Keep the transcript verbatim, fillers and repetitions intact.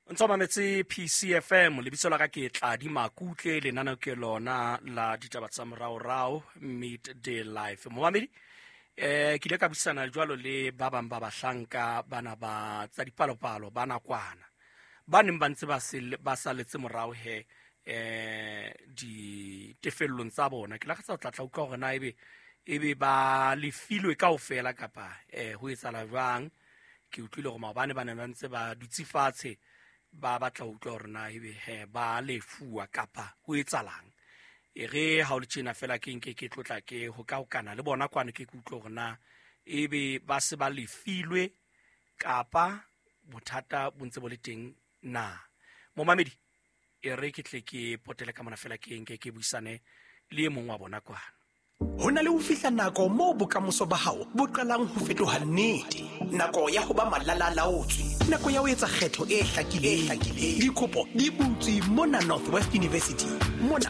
O ntso mametse P C F M. Lebitso la ka ke Tladi Makutle. Lenaneo ke lona la ditaba tsa moraorao, Midday Live. Momamedi, eh ke ile ka buisana jwalo le ba bang ba bahlanka bana ba tsa dipalopalo ba nakwana ba neng ba ntse ba sele- ba saletse morao he eh ditefellong tsa bona. Ke lakatsa ho tlatla utlwa hore na ebe ebe ba lefilwe kaofela kapa eh ho etsahala jwang. Ke utlwile hore maobane ba ne ba ntse ba dutse fatshe, ba batla ho utlwa hore na ebe he ba lefuwa kapa ho etsahalang. E re ha o le tjena fela, ke nke ke tlotla ke ho ka hokana le bona kwana, ke ke utlwe hore na ebe ba se ba lefilwe kapa bothata bo ntse bo le teng na. Momamedi, e re ke tle ke potele ka mona fela, ke nke ke buisane le e mong wa bona kwana. Ho na le ho fihla nako moo bokamoso ba hao bo qalang ho fetoha nnete. Nako ya ho ba malalalaotswe, nako ya ho etsa kgetho e hlakileng. Dikopo di butswe mona Northwest University. Mona